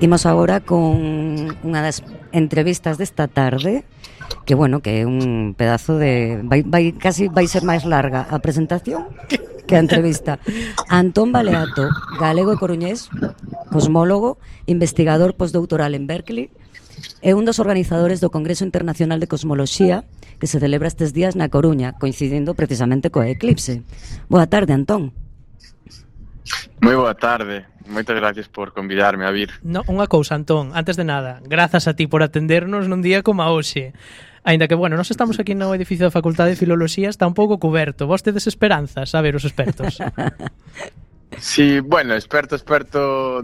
Imos agora con unha das entrevistas desta tarde, que bueno, que é un pedazo de casi vai ser máis larga a presentación que a entrevista. Antón Baleato, galego e coruñés, cosmólogo, investigador postdoutoral en Berkeley, é un dos organizadores do Congreso Internacional de Cosmoloxía que se celebra estes días na Coruña, coincidindo precisamente coa eclipse. Boa tarde, Antón. Moi boa tarde, moitas gracias por convidarme a vir. No, unha cousa, Antón, antes de nada, grazas a ti por atendernos nun día como a hoxe. Aínda que, bueno, nós estamos aquí no edificio da Facultade de Filoloxía, está un pouco coberto. Vos tedes esperanzas, a ver, os expertos. Sí, bueno, experto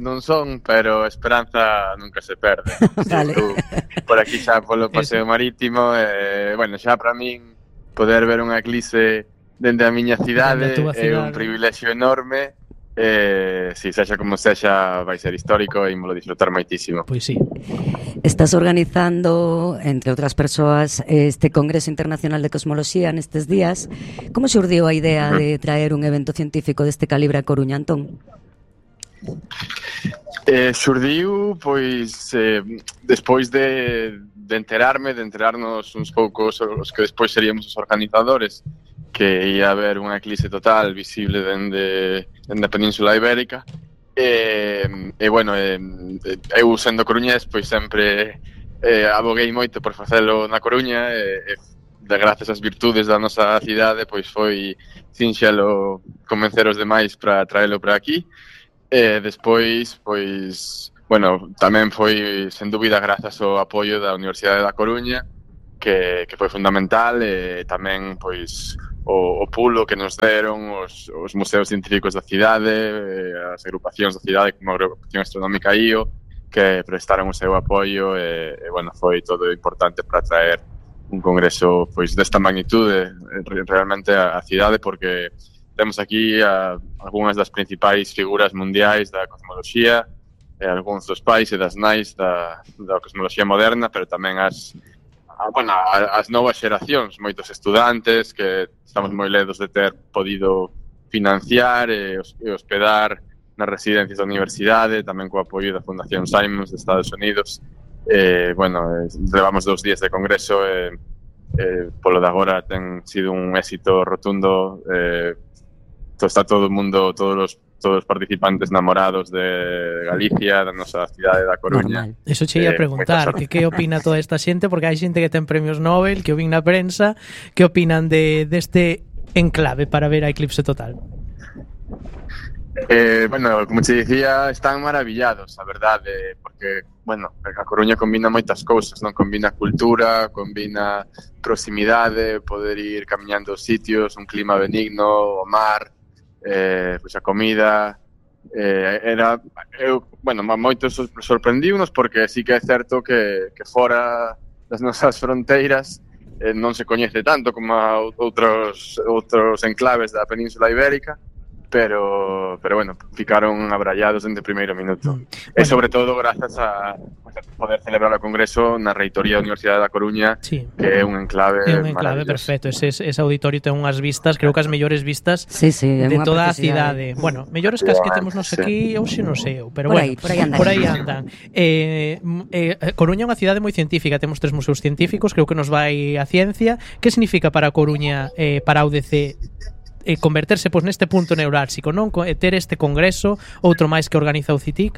non son, pero esperanza nunca se perde. Vale. Por aquí xa polo paseo marítimo, bueno, xa para min poder ver unha eclipse dende a miña cidade é un privilexio enorme. Si sexa como sexa, vai ser histórico e ímolo disfrutar moitísimo. Pois sí. Estás organizando, entre outras persoas, este Congreso Internacional de Cosmoloxía nestes días. Como xurdiu a idea de traer un evento científico deste calibre a Coruña, Antón? Xurdiu, pois, despois de enterarnos uns poucos os que despois seríamos os organizadores, que ia haber unha eclipse total visible dende a Península Ibérica. Bueno, eu sendo coruñés, pois sempre aboguei moito por facelo na Coruña, de grazas ás virtudes da nosa cidade, pois foi sinxelo convencer os demais para traelo para aquí. Despois, pois, bueno, tamén foi sen dúbida grazas ao apoio da Universidade da Coruña, que foi fundamental, e tamén, pois, o pulo que nos deron os museos científicos da cidade, as agrupacións da cidade como a Agrupación Astronómica IO, que prestaron o seu apoio, e bueno, foi todo importante para traer un congreso pois desta magnitude realmente a cidade, porque temos aquí algunhas das principais figuras mundiais da cosmoloxía, algúns dos pais e das nais da cosmoloxía moderna, pero tamén as novas xeracións, moitos estudantes que estamos moi ledos de ter podido financiar e hospedar nas residencias da universidade, tamén co apoio da Fundación Simons de Estados Unidos. Bueno, levamos 2 días de congreso e polo de agora ten sido un éxito rotundo. Está todo o mundo, todos os participantes namorados de Galicia, da nosa cidade da Coruña. Eso che ia preguntar, que opina toda esta xente, porque hai xente que ten premios Nobel, que o vin na prensa, que opinan deste enclave para ver a eclipse total? Bueno, como te dicía, están maravillados, a verdade, porque, bueno, a Coruña combina moitas cousas, non? Combina cultura, combina proximidade, poder ir camiñando aos sitios, un clima benigno, o mar, pois a comida, bueno, moitos sorprendíunos, porque sí que é certo que fora das nosas fronteiras non se coñece tanto como outros enclaves da Península Ibérica, pero bueno, ficaron abrallados desde o primeiro minuto. E sobre todo grazas a poder celebrar o congreso na reitoría da Universidade da Coruña, sí, que é un enclave perfecto. Ese auditorio ten unhas vistas, creo que as mellores vistas de toda a cidade. Bueno, mellores que as que temos nos aquí, hoxe non sei, pero bueno, por aí andan. Coruña é unha cidade moi científica, temos 3 museos científicos, creo que nos vai a ciencia. Que significa para Coruña, para a UDC, converterse pois neste punto neurálxico, non? Ter este congreso, outro máis que organiza o CITIC?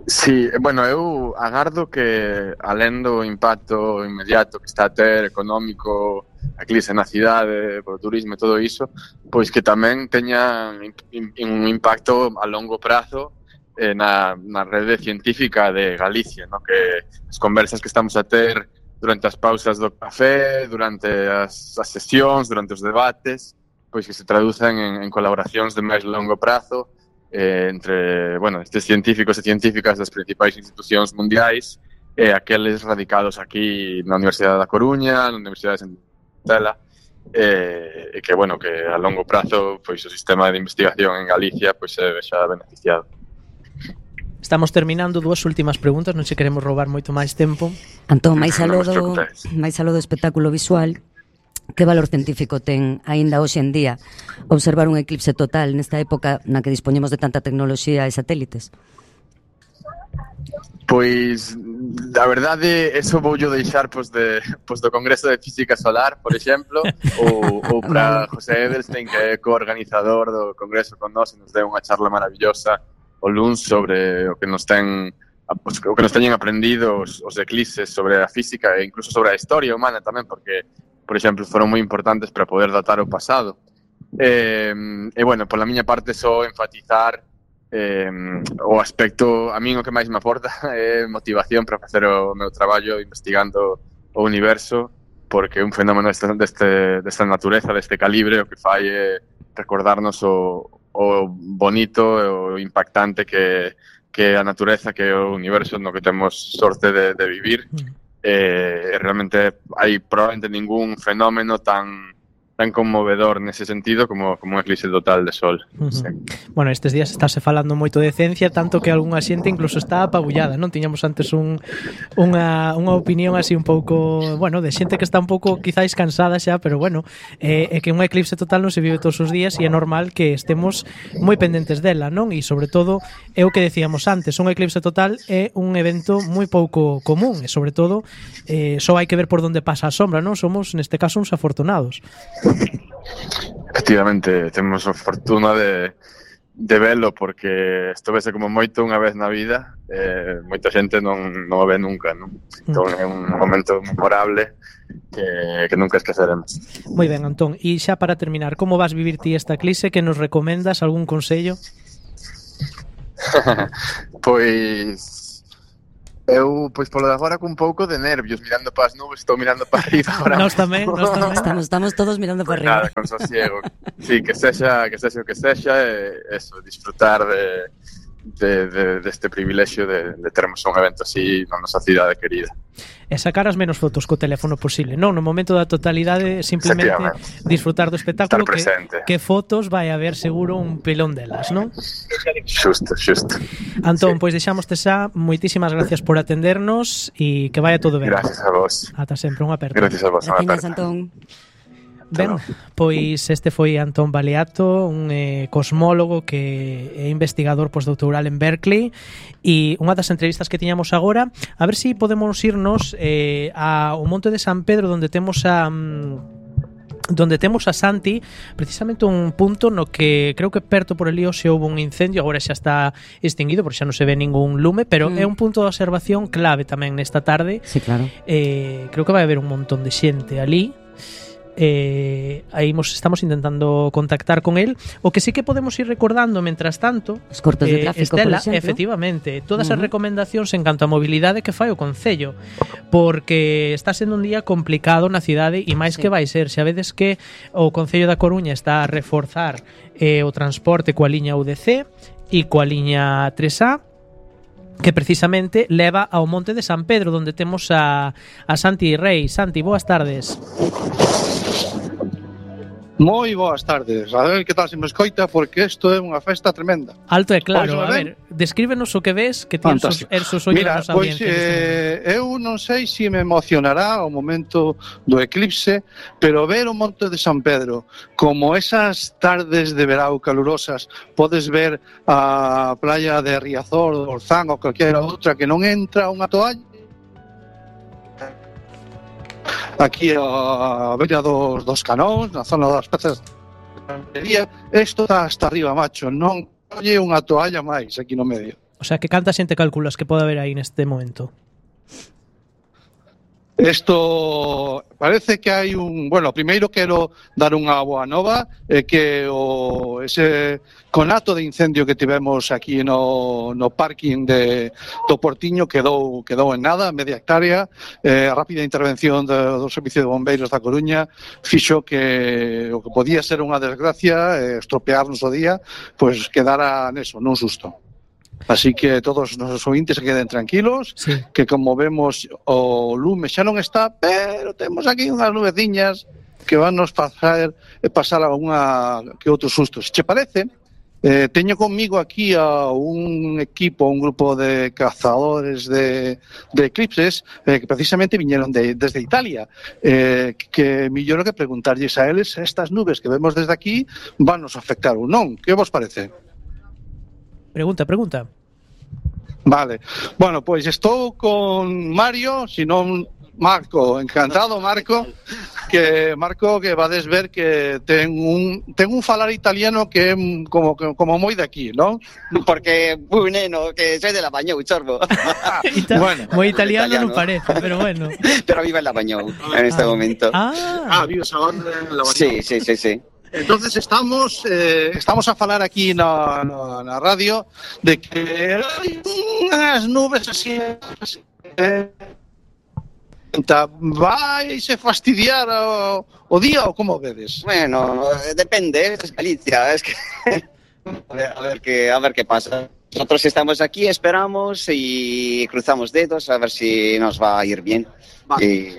Sí, bueno, eu agardo que, alén do impacto inmediato que está a ter económico, a eclipse na cidade, polo turismo e todo iso, pois que tamén teña un impacto a longo prazo na rede científica de Galicia, no? Que as conversas que estamos a ter durante as pausas do café, durante as sesións, durante os debates, pois que se traducen en colaboracións de máis longo prazo entre, bueno, estes científicos e científicas das principais institucións mundiais e aqueles radicados aquí na Universidade da Coruña, na Universidade de Santela, e que, bueno, que a longo prazo pois o sistema de investigación en Galicia pois se vexa beneficiado. Estamos terminando, 2 últimas preguntas, non se queremos roubar moito máis tempo. Antón, máis aló do espectáculo visual, que valor científico ten aínda hoxe en día observar un eclipse total nesta época na que dispoñemos de tanta tecnoloxía e satélites? Pois, a verdade, eso vou deixar do Congreso de Física Solar, por exemplo, ou para José Edelstein, que é coorganizador do Congreso con nós, e nos deu unha charla maravillosa o luns sobre o que nos teñen aprendido os eclipses sobre a física e incluso sobre a historia humana tamén, porque, por exemplo, foron moi importantes para poder datar o pasado. E bueno, pola miña parte só enfatizar o aspecto, a min o que máis me aporta é motivación para facer o meu traballo investigando o universo, porque un fenómeno desta natureza, deste calibre, o que fai é recordarnos o bonito e o impactante que é a natureza, que é o universo no que temos sorte de vivir. Realmente hai probablemente ningún fenómeno tan conmovedor nese sentido como un eclipse total de sol. Sí. Bueno, estes días estáse falando moito de ciencia, tanto que algunha xente incluso está apabullada, non? Tiñamos antes unha opinión así un pouco, bueno, de xente que está un pouco quizáis cansada xa, pero bueno, é que un eclipse total non se vive todos os días e é normal que estemos moi pendentes dela, non? E sobre todo, é o que decíamos antes, un eclipse total é un evento moi pouco común e sobre todo, só hai que ver por onde pasa a sombra, non? Somos, neste caso, uns afortunados. Efectivamente, temos a fortuna de velo, porque isto vese como moito unha vez na vida, moita xente non o ve nunca, non? Entón é un momento memorable que nunca esqueceremos. Moi ben, Antón, e xa para terminar, como vas vivir ti esta eclipse? Que nos recomendas? Algún consello? Pois eu, polo de agora, con un pouco de nervios, mirando para as nubes, estou mirando para arriba agora. Nós tamén. Estamos todos mirando para arriba. Nada, con sosiego. Sí, que sexa o que sexa, eso, disfrutar deste privilexio de termos un evento así na nosa cidade querida. E sacar as menos fotos co teléfono posible, non? No momento da totalidade, simplemente disfrutar do espectáculo, que fotos vai haber seguro un pilón delas, non? Xusto. Antón, pois deixámoste xa, moitísimas gracias por atendernos e que vaya todo ben. Gracias a vos. Ata sempre, unha aperta. Gracias a vos, unha aperta. Antón. Ben, pois este foi Antón Baleato, un cosmólogo que é investigador postdoctoral en Berkeley, e unha das entrevistas que tiñamos agora, a ver se podemos irnos ao Monte de San Pedro, onde temos a Santi, precisamente un punto no que creo que perto por ali se houve un incendio, agora xa está extinguido porque xa non se ve ningún lume, pero é un punto de observación clave tamén nesta tarde. Sí, claro. Creo que vai haber un montón de xente ali. Aí estamos intentando contactar con él. O que sí que podemos ir recordando mentras tanto, os cortes de tráfico, Estela, por exemplo, efectivamente, todas as recomendacións en canto a mobilidade que fai o Concello, porque está sendo un día complicado na cidade e máis que vai ser, xa vedes que o Concello da Coruña está a reforzar o transporte coa liña UDC e coa liña 3A, que precisamente leva ao Monte de San Pedro, onde temos a Santi Rei. Santi, boas tardes. Moi boas tardes. A ver que tal se me escoita, porque isto é unha festa tremenda. Alto e claro. A ver, descríbenos o que ves, que tens os ollos na nosa audiencia. Mira, eu non sei se me emocionará o momento do eclipse, pero ver o Monte de San Pedro como esas tardes de verao calurosas, podes ver a playa de Riazor, do Orzán ou calquera outra que non entra unha toalla, aquí a beira dos Canóns, na zona das peces de Cantería, isto está hasta arriba, macho, non colle unha toalla máis aquí no medio. O sea, que canta xente calculas que pode haber aí neste momento? Isto parece que hai bueno, primeiro quero dar unha boa nova, que ese conato de incendio que tivemos aquí no parking do Portiño quedou en nada, media hectárea. A rápida intervención do Servicio de Bombeiros da Coruña fixo que o que podía ser unha desgracia, estropearnos o día, pois quedara neso, nun susto. Así que todos os nosos ouvintes se queden tranquilos, que como vemos o lume xa non está, pero temos aquí unhas nubeciñas que van nos pasar alguna que outro susto. Se che parece, teño conmigo aquí a un grupo de cazadores de eclipses que precisamente viñeron desde Italia, que millor que preguntarlles a eles estas nubes que vemos desde aquí van nos afectar ou non. Que vos parece? Pregunta. Vale. Bueno, pois estou con Mario, senón Marco, encantado Marco, que vades ver que ten un falar italiano que é como moi de aquí, non? Porque muy neno, que soy de Labañou, chorbo. Bueno, moi italiano non parece, pero bueno. Pero vive en Labañou en este momento. Vives agora en Labañou. Sí. Entonces estamos a falar aquí na radio de que hai unhas nubes así vais a fastidiar o día ou como vedes? Bueno, depende, es Galicia, es que a ver qué pasa. Nosotros estamos aquí, esperamos y cruzamos dedos a ver si nos va a ir bien.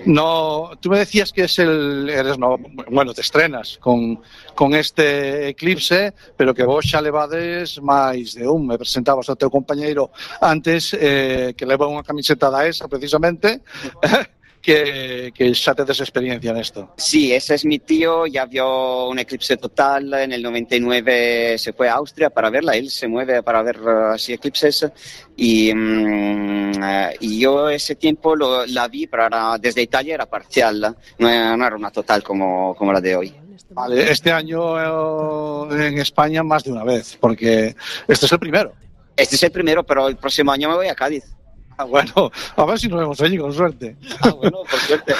No, tú me decías que te estrenas con este Eclipse, pero que vos xa levades máis de un. Me presentabas ao teu compañeiro antes que leva unha camiseta da ESA precisamente. Que ya te des experiencia en esto. Sí, ese es mi tío, ya vio un eclipse total, en el 99 se fue a Austria para verla, él se mueve para ver así eclipses y yo ese tiempo la vi, pero desde Italia era parcial, no era una total como la de hoy. Vale, este año en España más de una vez, porque este es el primero. Este es el primero, pero el próximo año me voy a Cádiz. Bueno, a ver si nos vemos allí, con suerte. Bueno, por suerte.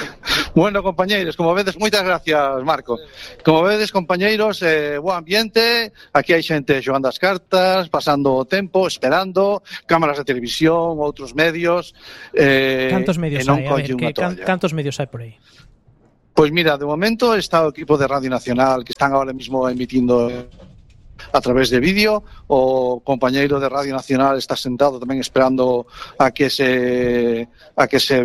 Bueno, compañeiros, como vedes, moitas gracias, Marco. Como vedes, compañeiros, bo ambiente, aquí hai xente xogando as cartas, pasando o tempo, esperando, cámaras de televisión, outros medios. Cantos medios hai? A ver, cantos medios hai por aí? Pois mira, de momento está o equipo de Radio Nacional que están ahora mismo emitindo a través de vídeo. O compañeiro de Radio Nacional está sentado tamén esperando a que se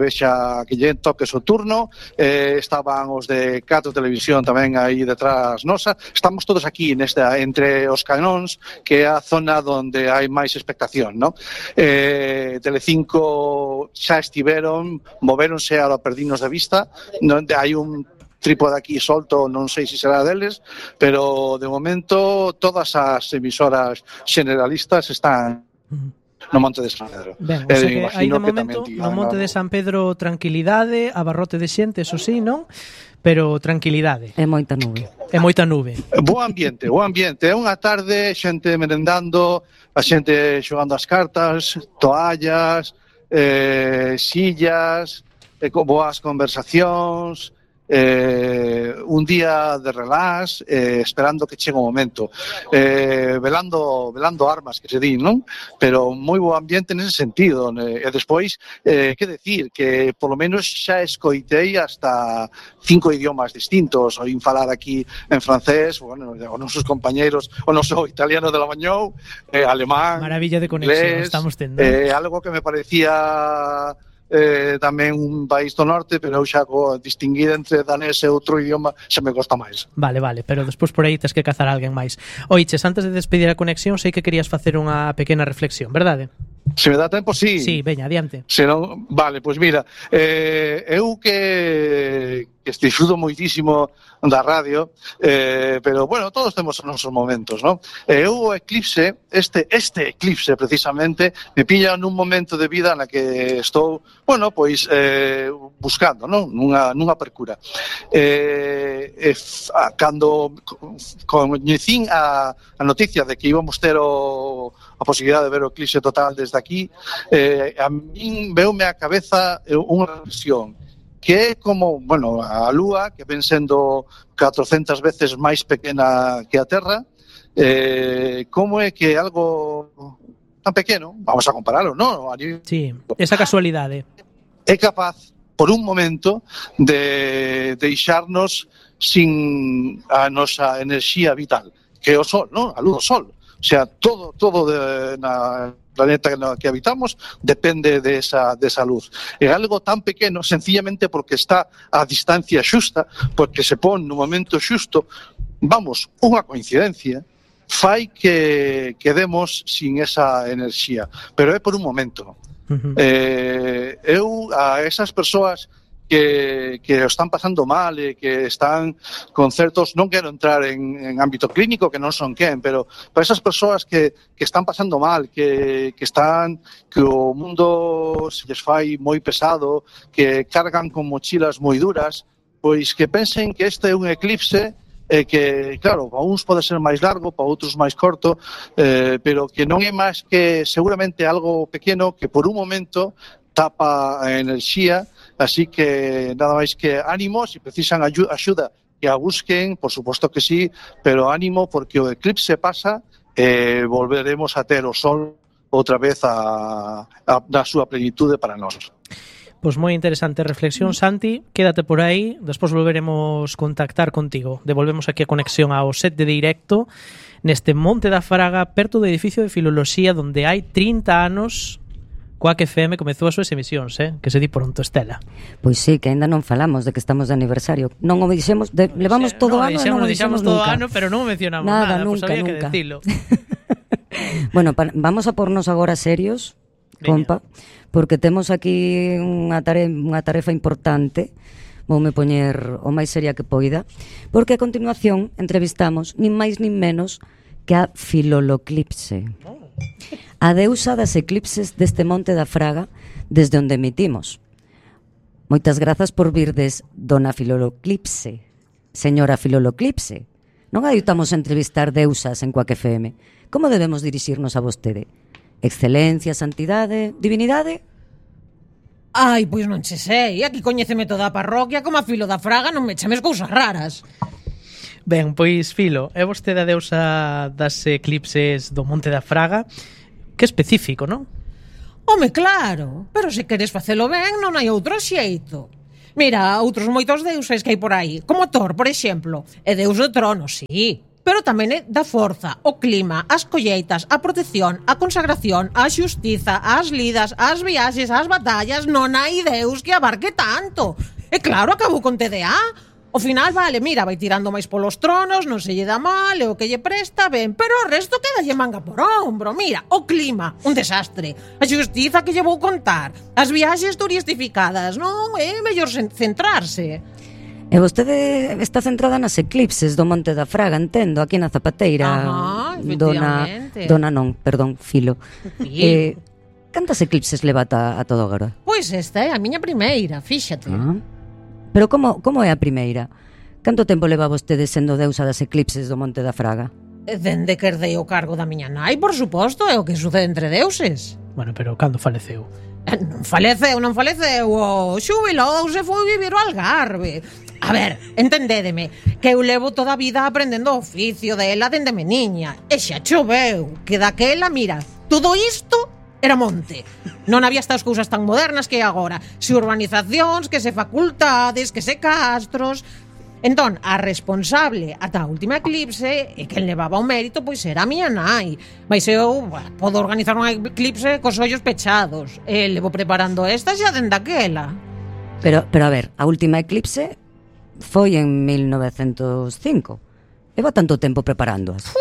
vexa, que lle toque o turno. Estaban os de Cato Televisión tamén aí detrás nosa. Estamos todos aquí entre os canóns, que é a zona onde hai máis expectación, ¿no? Telecinco xa estiveron, movéronse a perdinos de vista, onde hai un trípode aquí solto, non sei se será deles, pero de momento todas as emisoras generalistas están no Monte de San Pedro. Ben, o sea que hai de momento no Monte de San Pedro tranquilidade, abarrote de xente, eso sí, non? Pero tranquilidade. É moita nube. Bo ambiente. É unha tarde, xente merendando, a xente xogando as cartas, toallas, sillas, boas conversacións, un día de relax, esperando que chegue o momento, velando armas, que se di, non? Pero moi bo ambiente nese sentido, e despois, que decir, que polo menos xa escoitei hasta 5 idiomas distintos. Oín falar aquí en francés, bueno, os nosos compañeiros, o noso italiano de Labañou, alemán, maravilla de conexión, inglés, estamos tendo. Algo que me parecía tamén un país do norte, pero xa distinguir entre danés e outro idioma xa me costa máis. Vale, pero despois por aí tes que cazar a alguén máis. Oiches, antes de despedir a conexión, sei que querías facer unha pequena reflexión, verdade? Se me dá tempo, sí. Sí, veña, adiante. Senón, vale, pois mira, eu que disfruto moitísimo da radio, pero, bueno, todos temos os nosos momentos, non? Eu o eclipse, este eclipse, precisamente, me pilla nun momento de vida na que estou, bueno, pois, buscando, non? Nunha percura. Cando coñecín a noticia de que íbamos ter a posibilidade de ver o eclipse total desde aquí, a min veume a cabeza unha reflexión, que é como, bueno, a Lúa, que ven sendo 400 veces máis pequena que a Terra, como é que algo tan pequeno, vamos a compararlo, non? Sí, esa casualidade. É capaz, por un momento, de deixarnos sin a nosa enerxía vital, que é o Sol, non? A luz do Sol. O sea, todo na planeta que habitamos depende de esa luz. É algo tan pequeno, sencillamente porque está a distancia xusta, porque se pon no momento xusto, vamos, unha coincidencia, fai que quedemos sin esa enerxía, pero é por un momento. Eu, a esas persoas que o están pasando mal e que están con certos, non quero entrar en ámbito clínico, que non son quen, pero para esas persoas que están pasando mal, que o mundo se les fai moi pesado, que cargan con mochilas moi duras, pois que pensen que este é un eclipse que, claro, para uns pode ser máis largo, para outros máis corto, pero que non é máis que seguramente algo pequeno que por un momento tapa a enerxía, así que nada máis que ánimo, se precisan axuda que a busquen, por suposto que sí, pero ánimo porque o eclipse pasa e volveremos a ter o sol outra vez na súa plenitude para nós. Pois moi interesante reflexión, Santi, quédate por aí, despois volveremos contactar contigo. Devolvemos aquí a conexión ao set de directo neste Monte da Fraga, perto do edificio de Filoloxía, onde hai 30 anos Quack FM comezou as súas emisións, que se di pronto, Estela. Pois sí, que ainda non falamos de que estamos de aniversario. Non o dixemos, levamos todo o ano e non o dixemos todo o ano, pero non o mencionamos nada, nunca, pues había nunca. Que decilo. Bueno, vamos a pornos agora serios, compa, porque temos aquí unha tarefa importante. Voume poñer o máis seria que poida, porque a continuación entrevistamos nin máis nin menos que a Filoloclipse, a deusa das eclipses deste Monte da Fraga, desde onde emitimos. Moitas grazas por virdes, dona Filoloclipse, señora Filoloclipse. Non adoitamos entrevistar deusas en Quack FM. Como debemos dirixirnos a vostede? Excelencia, santidade, divinidade? Ai, pois non che sei, aquí coñéceme toda a parroquia, como a Filo da Fraga non me chames cousas raras. Ben, pois Filo, é vostede a deusa das eclipses do Monte da Fraga. Que específico, non? Home, claro, pero se queres facelo ben non hai outro xeito. Mira, outros moitos deuses que hai por aí, como Thor, por exemplo, é deus do trono, sí, pero tamén é da forza, o clima, as colleitas, a protección, a consagración, a xustiza, as lidas, as viaxes, as batallas. Non hai deus que abarque tanto. E claro, acabou con TDA. Ao final, vale, mira, vai tirando máis polos tronos, non se lle dá mal, e o que lle presta, ben, pero o resto quedalle manga por ombro. Mira, o clima, un desastre. A xustiza que lle vou contar. As viaxes turistificadas, non? É mellor centrarse. E vostede está centrada nas eclipses do Monte da Fraga, entendo, aquí na Zapateira. Dona non, perdón, Filo. Cantas eclipses leva a todo agora? Pois esta é a miña primeira, fíxate. Pero como é a primeira? Canto tempo leva vostede sendo deusa das eclipses do Monte da Fraga? Dende que herdei o cargo da miña nai, por suposto, é o que sucede entre deuses. Bueno, pero cando faleceu? Non faleceu, o xubilouse, foi vivir ao Algarve. A ver, entendédeme, que eu levo toda a vida aprendendo o oficio dela dende meniña. E xa choveu, que daquela, mira, todo isto era monte. Non había estas cousas tan modernas que hai agora. Se urbanizacións, que se facultades, que se castros. Entón, a responsable ata a última eclipse e quen levaba o mérito pois era a miña nai. Mas eu podo organizar unha eclipse cos ollos pechados. E levo preparando esta xa dende aquela. Pero a ver, a última eclipse foi en 1905. Leva tanto tempo preparándoas.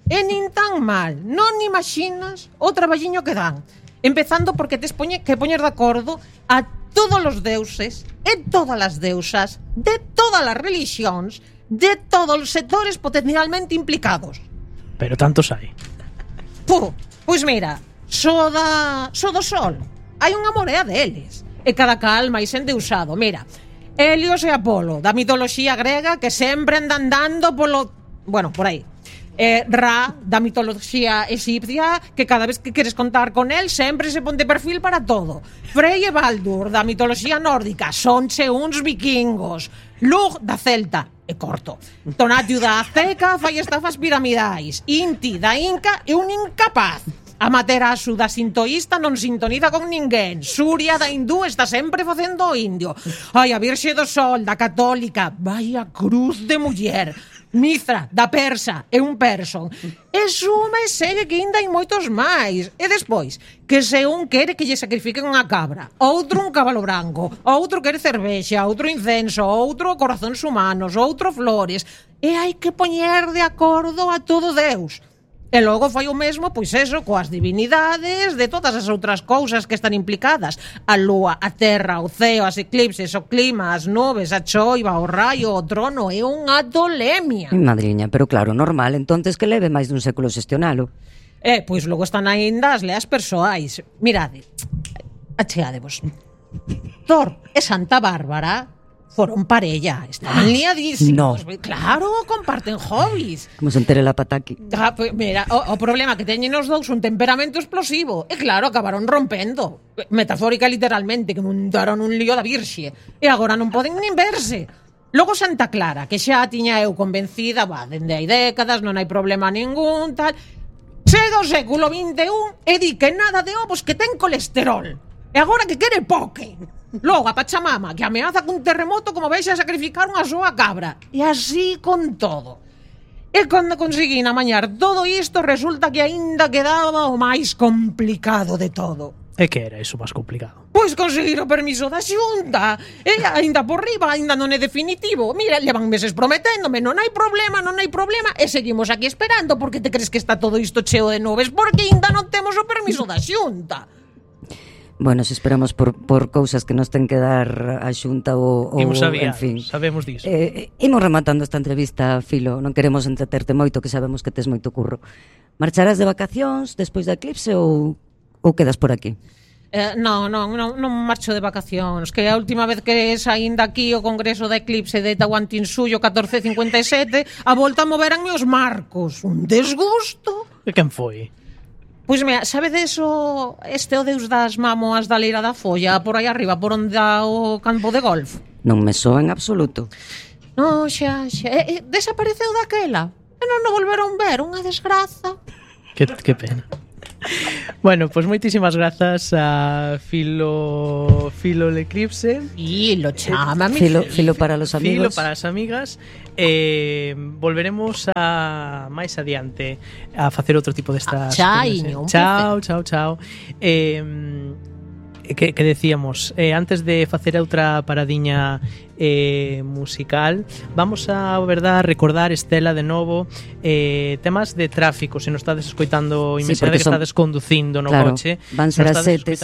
E nin tan mal, non imaginas o traballiño que dan. Empezando porque tes que poñer de acordo a todos os deuses e todas as deusas de todas as religións, de todos os sectores potencialmente implicados. Pero tantos hai. Pois mira, só do sol hai unha morea deles, e cada cal máis endeusado. Mira, Helios e Apolo, da mitoloxía grega, que sempre andan dando por aí. Ra, da mitoloxía egipcia, que cada vez que queres contar con él sempre se pon de perfil para todo. Frey e Baldur, da mitoloxía nórdica, sonche uns vikingos. Lug, da celta, e corto. Tonatiuh, da azteca, fai estafas piramidais. Inti, da inca, e un incapaz. Amaterasu, da sintoísta, non sintoniza con ninguén. Surya, da hindú, está sempre facendo o indio. Ai, a Virxe do Sol, da católica, vai a cruz de muller. Mithra, da persa, é un person. E suma e segue que ainda hai moitos máis. E despois, que se un quere que lle sacrifiquen unha cabra, outro un cabalo branco, outro quere cervexa, outro incenso, outro corazóns humanos, outro flores. E hai que poñer de acordo a todo Deus. E logo fai o mesmo, pois eso, coas divinidades de todas as outras cousas que están implicadas. A lúa, a terra, o ceo, as eclipses, o clima, as nubes, a choiva, o raio, o trono. É unha tolemia. Madriña, pero claro, normal, entonces que leve máis dun século xestionalo. Pois logo están aínda as leas persoais. Mirade, achegadevos. Thor e Santa Bárbara foron parella, estaban liadísimos. No. Claro, comparten hobbies. Como se entere la pataki. Pues mira, o problema que teñen os dous un temperamento explosivo. E claro, acabaron rompendo. Metafórica literalmente, que montaron un lío da virxe. E agora non poden nin verse. Logo Santa Clara, que xa tiña eu convencida, dende hai décadas, non hai problema ningún, tal. Chega o século XXI e di que nada de ovos que ten colesterol. E agora que quere poke. Logo a Pachamama, que ameaza cun terremoto como vexe a sacrificar unha súa cabra. E así con todo. E cando conseguín amañar todo isto, resulta que aínda quedaba o máis complicado de todo. E que era iso máis complicado? Pois conseguir o permiso da Xunta. E aínda por riba, aínda non é definitivo. Mira, levan meses prometéndome, non hai problema, e seguimos aquí esperando. Porque te crees que está todo isto cheo de nubes? Porque aínda non temos o permiso da Xunta. Bueno, se esperamos por cousas que nos ten que dar a Xunta ou en fin. Sabemos diso. Imos rematando esta entrevista, Filo. Non queremos entreterte moito, que sabemos que tes moito curro. Marcharás de vacacións despois da eclipse ou quedas por aquí? Non marcho de vacacións. Que a última vez que saín daqui o congreso da eclipse de Tahuantinsuyo 1457, a volta moveranme os marcos. Un desgusto. E quen foi? Pois mira, sabedes o deus das mámoas da Leira da Folla, por aí arriba, por onde dá o campo de golf? Non me soa en absoluto. Non, xa. Desapareceu daquela. E non o volveron ver, unha desgraza. Que pena. Bueno, pues moitísimas grazas a Filo Leclipse. Filo, chámame. Filo para los amigos. Filo para as amigas. Volveremos a máis adiante a facer outro tipo destas. Chao. Que decíamos, antes de facer outra paradiña musical, vamos a recordar, Estela, de novo, temas de tráfico. Se nos estades escoitando inmensamente que estades conducindo no coche, van ser as 7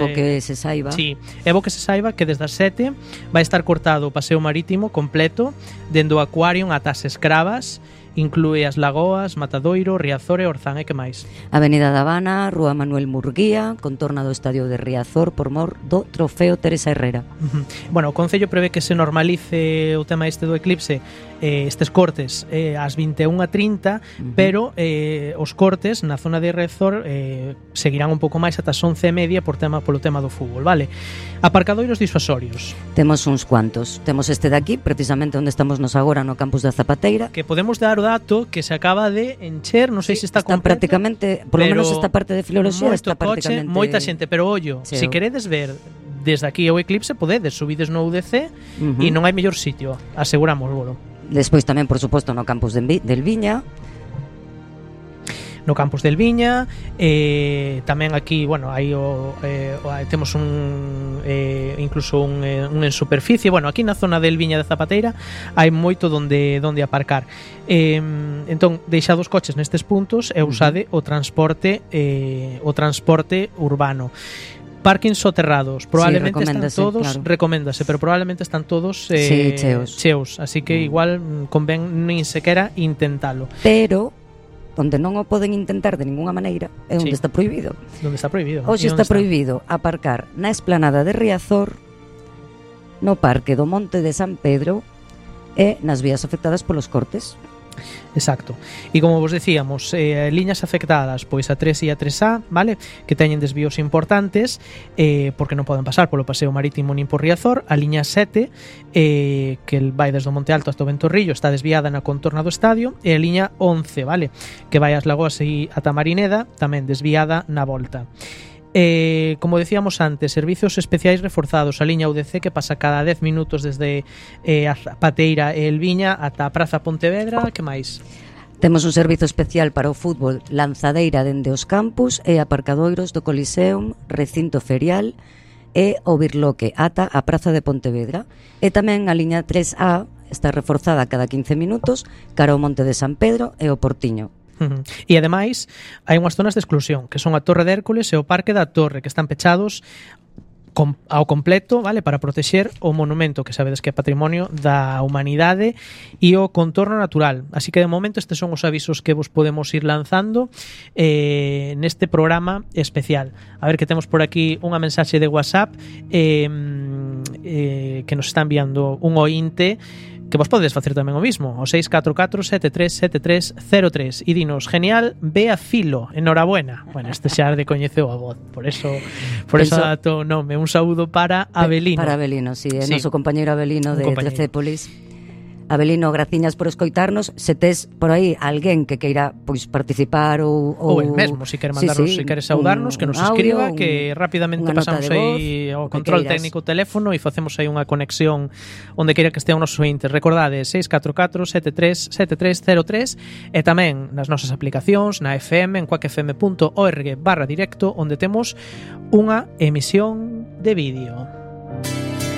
bo que se saiba. Sí, é bo que se saiba que desde as 7 vai estar cortado o paseo marítimo completo dende o Aquarium ata as Escravas. Inclúe as Lagoas, Matadoiro, Riazor e Orzán, e que máis? Avenida da Habana, Rúa Manuel Murguía, contorna do estadio de Riazor por mor do Trofeo Teresa Herrera. Bueno, o Concello prevé que se normalice o tema do eclipse, estes cortes ás 21:30, pero os cortes na zona de Riazor seguirán un pouco máis ata as 11:30 polo tema do fútbol, vale? Aparcadoiros disuasorios. Temos uns cuantos. Temos este de aquí, precisamente onde estamos nos agora, no campus da Zapateira. Que podemos dar o dato que se acaba de encher, non sei se está completo. Prácticamente, por lo menos esta parte de filoloxía está prácticamente... Moita xente, pero ollo, se queredes ver desde aquí o eclipse, podedes, subides no UDC e non hai mellor sitio, aseguramos, bolo. Despois tamén, por suposto, no campus del Viña. No campus del Viña, tamén aquí, bueno, aí temos incluso un en superficie. Bueno, aquí na zona del Viña de Zapateira hai moito donde aparcar. Entón, deixade os coches nestes puntos e usade o transporte urbano. Parkings soterrados, probablemente están todos, claro. Recoméndase, pero probablemente están todos cheos, así que igual convén nin sequera intentalo. Pero onde non o poden intentar de ninguna maneira é onde está prohibido. Onde está prohibido. Hoxe está prohibido aparcar na esplanada de Riazor, no Parque do Monte de San Pedro e nas vías afectadas polos cortes. Exacto. E como vos decíamos, liñas afectadas, pois a 3 e a 3A, vale? Que teñen desvíos importantes, porque non poden pasar polo paseo marítimo nin por Riazor. A liña 7, que vai desde o Monte Alto hasta o Ventorrillo, está desviada na contorna do estadio. E a liña 11, vale? Que vai ás Lagoas e ata Marineda, tamén desviada na volta. Como decíamos antes, servizos especiais reforzados. A liña UDC que pasa cada 10 minutos desde a Zapateira e el Viña ata a Praza Pontevedra. Que máis? Temos un servizo especial para o fútbol, lanzadeira dende os campus e aparcadoiros do Coliseum, recinto ferial e o Birloque ata a Praza de Pontevedra. E tamén a liña 3A está reforzada cada 15 minutos cara ao Monte de San Pedro e o Portiño. E ademais hai unhas zonas de exclusión que son a Torre de Hércules e o Parque da Torre, que están pechados ao completo, vale, para protexer o monumento que sabedes que é patrimonio da humanidade e o contorno natural. Así que de momento estes son os avisos que vos podemos ir lanzando neste programa especial. A ver que temos por aquí unha mensaxe de WhatsApp que nos está enviando un ointe que vos podedes facer tamén o mismo, o 644-737303 e dinos, genial, ve a filo, enhorabuena. Bueno, este xa de coñeceu a voz, por eso dato nome, un saúdo para Avelino. Para Avelino, sí, é noso compañeiro Avelino de Trecépolis. Avelino, graciñas por escoitarnos. Se tes por aí alguén que queira pois participar ou el mesmo, se quere mandarnos, se quere saudarnos, que nos escriba, que rapidamente pasamos aí ao control técnico teléfono e facemos aí unha conexión onde queira que estea o noso ointe. Recordade, 644-737303 e tamén nas nosas aplicacións, na FM, en quackfm.org/directo, onde temos unha emisión de vídeo.